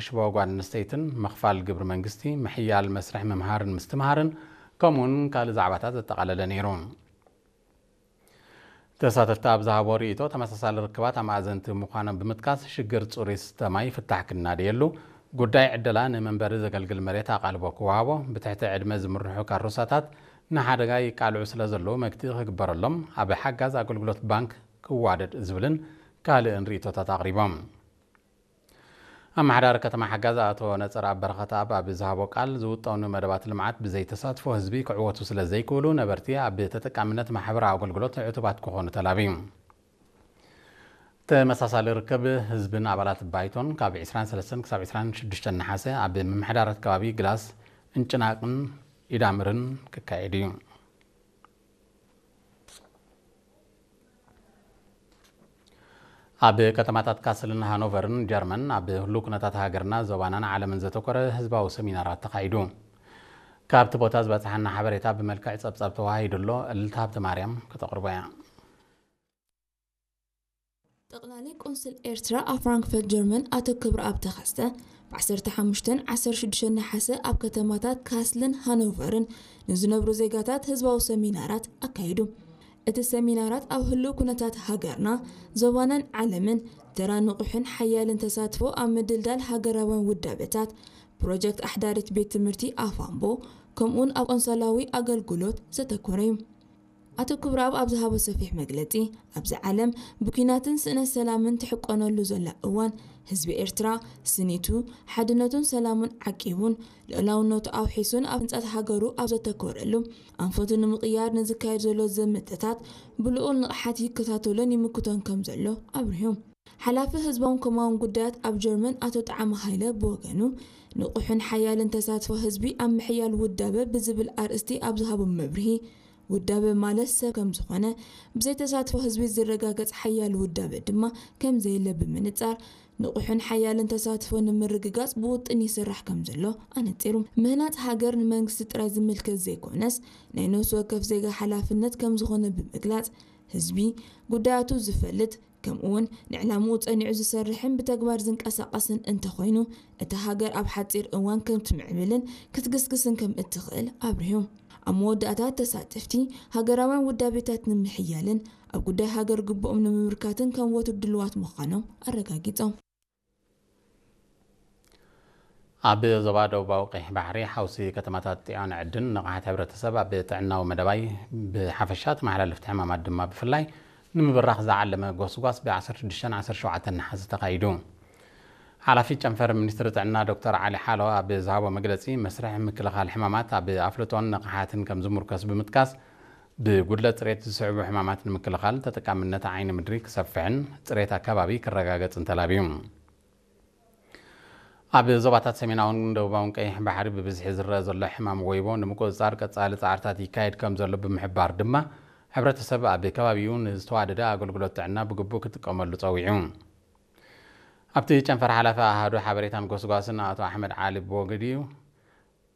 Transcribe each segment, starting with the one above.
ሽቦ ጓል ኣንስተይትን ምኽፋል ግብሪ መንግስቲ፣ ምሕያል መስርሕ ምምሃርን ምስትምሃርን፣ ከምኡውን ካልእ ዛዕባታት ዘጠቓለለ ነይሩ። ተሳተፍቲ ኣብ ዝሃቦ ርእይቶ፣ ተመሳሳሊ ርክባት ኣማእዘንቲ ምዃኖም ብምጥቃስ፣ ሽግር ጽሩይ ስተ ማይ ፍታሕ ክናደየሉ፣ ጉዳይ ዕደላ ንመንበሪ ዘገልግል መሬት ኣቓልቦ ክወሃቦ፣ ብትሕቲ ዕድመ ዝምርሑ ካሮሳታት ንሓደጋ ይቃልዑ ስለ ዘለዉ መግትኢ ክግበረሎም፣ ኣብ ሓጋዝ ኣገልግሎት ባንክ ክዋደድ ዝብልን ካልእን ርእይቶታት ኣቕሪቦም። ኣመሓዳሪ ከተማ ሓጋዝ ኣቶ ነጸረኣብ በረኸተኣብ ኣብ ዝሃቦ ቃል፣ ዝውጠኑ መደባት ልምዓት ብዘይ ተሳትፎ ህዝቢ ክዕወቱ ስለ ዘይክእሉ፣ ነበርቲ ኣብ ተጠቃምነት ማሕበራዊ ኣገልግሎት ዕቱባት ክኾኑ ተላብዩ። ተመሳሳሊ ርክብ ህዝብን ኣባላት ባይቶን ካብ ዕስራን ሰለስተን ክሳብ ዕስራን ሽዱሽተን ነሓሰ ኣብ ምምሕዳራት ከባቢ ግላስ፣ እንጭናቕን ኢዳምርን ክካየድ እዩ። ኣብ ከተማታት ካስልን ሃኖቨርን ጀርመን ኣብ ህሉው ኩነታት ሃገርና፣ ዞባናን ዓለምን ዘተኮረ ህዝባዊ ሰሚናራት ተኻይዱ። ካብቲ ቦታ ዝበጽሓና ሓበሬታ ብመልክዕ ጸብጻብ ተዋሂዱ ኣሎ፣ እልልታ ሃብተ ማርያም ከተቕርቦ እያ። ጠቕላሊ ቆንስል ኤርትራ ኣብ ፍራንክፈርት ጀርመን ኣቶ ክብረኣብ ተኸስተ፣ ብ ዓሰርተ ሓሙሽተን ዓሰርተ ሽዱሽተን ነሓሰ ኣብ ከተማታት ካስልን ሃኖቨርን ንዝነብሩ ዜጋታት ህዝባዊ ሰሚናራት ኣካይዱ። እቲ ሰሚናራት ኣብ ህሉው ኩነታት ሃገርና፣ ዞባናን ዓለምን ተራ ንቑሕን ሓያልን ተሳትፎ ኣብ ምድልዳል ሃገራውያን ውዳበታት፣ ፕሮጀክት ኣሕዳሪት ቤት ትምህርቲ ኣፋምቦ፣ ከምኡውን ኣብ ቆንሰላዊ ኣገልግሎት ዘተኮረ እዩ። ኣቶ ክብረኣብ ኣብ ዝሃቦ ሰፊሕ መግለጺ፣ ኣብዚ ዓለም ብኲናትን ስእነት ሰላምን ትሕቆነሉ ዘላ እዋን፣ ህዝቢ ኤርትራ ስኒቱ፣ ሓድነቱን ሰላሙን ዓቂቡን፣ ልኡላውነቱ ኣውሒሱን ኣብ ህንጸት ሃገሩ ኣብ ዘተኮረሉ፣ ኣንፈቱ ንምቕያር ንዝካየድ ዘሎ ዘመተታት ብልኡል ንቕሓት ይከታተሎን ይምክቶን ከም ዘሎ ኣብሪሁ። ሓላፊ ህዝባውን ኮማውን ጉዳያት ኣብ ጀርመን ኣቶ ጣዕመ ሃይለ ብወገኑ፣ ንቑሕን ሓያልን ተሳትፎ ህዝቢ ኣብ ምሕያል ውዳበ ብዝብል ኣርእስቲ ኣብ ዝሃቦ መብርሂ፣ ውዳበ ማለት ሰብ ከም ዝኾነ፣ ብዘይ ተሳትፎ ህዝቢ ዝረጋገጽ ሓያል ውዳበ ድማ ከም ዘየለ ብምንጻር፣ ንቑሕን ሓያልን ተሳትፎ ንምርግጋጽ ብውጥን ይስራሕ ከም ዘሎ ኣነጺሩ። ምህናጽ ሃገር ንመንግስቲ ጥራይ ዝምልከት ዘይኮነስ፣ ናይ ነፍሲ ወከፍ ዜጋ ሓላፍነት ከም ዝኾነ ብምግላጽ፣ ህዝቢ ጉዳያቱ ዝፈልጥ፣ ከምኡውን ንዕላምኡ ጸኒዑ ዝሰርሕን ብተግባር ዝንቀሳቐስን እንተኾይኑ፣ እታ ሃገር ኣብ ሓጺር እዋን ከም ትምዕብልን ክትግስግስን ከም እትኽእል ኣብሪሁ። ኣብ መወዳእታ፣ ተሳተፍቲ፣ ሃገራውያን ውዳቤታት ንምሕያልን ኣብ ጉዳይ ሃገር ግቡኦም ንምምርካትን ከም ወትሩ ድሉዋት ምዃኖም ኣረጋጊጾም። ኣብ ዞባ ደቡባዊ ቀይሕ ባሕሪ፣ ሓውሲ ከተማታት ጢዖን ዕድን ንቕሓት ሕብረተሰብ ኣብ ጥዕናዊ መደባይ ብሓፈሻ፣ ተመሓላለፍቲ ሕማማት ድማ ብፍላይ ንምብራኽ ዝዓለመ ጎስጓስ ብ ዓሰርተ ሽዱሽተን ዓሰርተ ሸውዓተን ነሓሰ ተኻይዱ። ሓላፊ ጨንፈር ሚኒስትሪ ጥዕና ዶክተር ዓሊ ሓሎ ኣብ ዝሃቦ መግለጺ፣ መስርሕ ምክልኻል ሕማማት ኣብ ኣፍልጦን ንቕሓትን ከም ዝምርኮስ ብምጥቃስ፣ ብጉድለት ጽሬት ዝስዕቡ ሕማማት ንምክልኻል ተጠቃምነት ዓይኒ ምድሪ ክሰፍሕን ጽሬት ኣከባቢ ክረጋገጽን ተላብዩ። ኣብ ዞባታት ሰሜናውን ደቡባውን ቀይሕ ባሕሪ ብብዝሒ ዝረኣ ዘሎ ሕማም ወይቦ ንምቁጽጻር ቀጻሊ ጻዕርታት ይካየድ ከም ዘሎ ብምሕባር ድማ፣ ሕብረተሰብ ኣብ ከባቢኡ ንዝተዋደደ ኣገልግሎት ጥዕና ብግቡእ ክጥቀመሉ ጸዊዑ። ኣብቲ ጨንፈር ሓላፊ ኣሃዱ ሓበሬታን ጎስጓስን ኣቶ ኣሕመድ ዓሊ ብወገዲኡ፣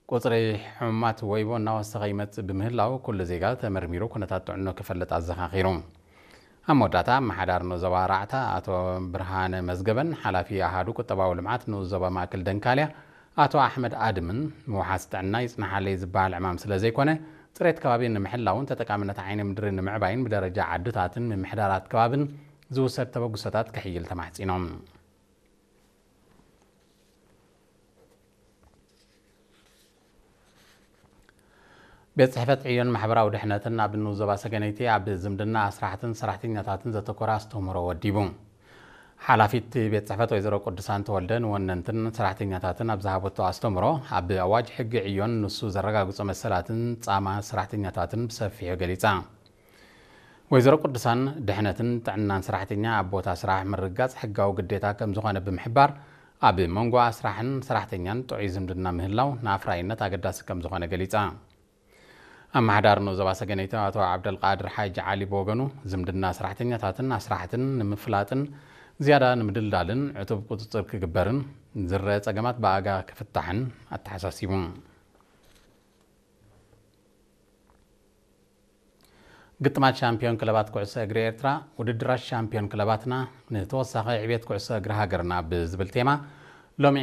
ቁጽሪ ሕሙማት ወይቦ እናወሰኸ ይመጽእ ብምህላው፣ ኩሉ ዜጋ ተመርሚሩ ኩነታት ጥዕኖ ክፈልጥ ኣዘኻኺሩ። ኣብ መወዳእታ፣ ኣመሓዳሪ ንኡስ ዞባ ራዕታ ኣቶ ብርሃነ መዝገበን ሓላፊ ኣሃዱ ቁጠባዊ ልምዓት ንኡስ ዞባ ማእከል ደንካልያ ኣቶ ኣሕመድ ኣድምን፣ ምውሓስ ጥዕና ይጽናሓለይ ዝበሃል ዕማም ስለ ዘይኮነ፣ ጽሬት ከባቢ ንምሕላውን ተጠቃምነት ዓይኒ ምድሪ ንምዕባይን ብደረጃ ዓድታትን ምምሕዳራት ከባብን ዝውሰድ ተበግሶታት ክሕይል ተማሕጺኖም። ቤት ጽሕፈት ዕዮን ማሕበራዊ ድሕነትን ኣብ ንኡስ ዞባ ሰገነይቲ ኣብ ዝምድና ኣስራሕትን ሰራሕተኛታትን ዘተኮረ ኣስተምህሮ ወዲቡ። ሓላፊት ቤት ጽሕፈት ወይዘሮ ቅዱሳን ተወልደ ንወነንትን ሰራሕተኛታትን ኣብ ዝሃበቶ ኣስተምህሮ፣ ኣብ ኣዋጅ ሕጊ ዕዮን ንሱ ዘረጋግጾ መሰላትን ጻማ ሰራሕተኛታትን ብሰፊሑ ገሊጻ። ወይዘሮ ቅዱሳን፣ ድሕነትን ጥዕናን ሰራሕተኛ ኣብ ቦታ ስራሕ ምርግጋጽ ሕጋዊ ግዴታ ከም ዝኾነ ብምሕባር፣ ኣብ መንጎ ኣስራሕን ሰራሕተኛን ጥዑይ ዝምድና ምህላው ንኣፍራይነት ኣገዳሲ ከም ዝኾነ ገሊጻ። ኣመሓዳሪ ንኡስ ዞባ ሰገነይቲ ኣቶ ዓብደልቃድር ሓጂ ዓሊ ብወገኑ፣ ዝምድና ሰራሕተኛታትን ኣስራሕትን ንምፍላጥን ዝያዳ ንምድልዳልን ዕቱብ ቁጽጽር ክግበርን፣ ዝረአ ጸገማት ብኣጋ ክፍታሕን ኣተሓሳሲቡ። ግጥማት ሻምፒዮን ክለባት ኩዕሶ እግሪ ኤርትራ፣ ውድድራት ሻምፒዮን ክለባትና ንተወሳኺ ዕብየት ኩዕሶ እግሪ ሃገርና ብዝብል ቴማ፣ ሎሚ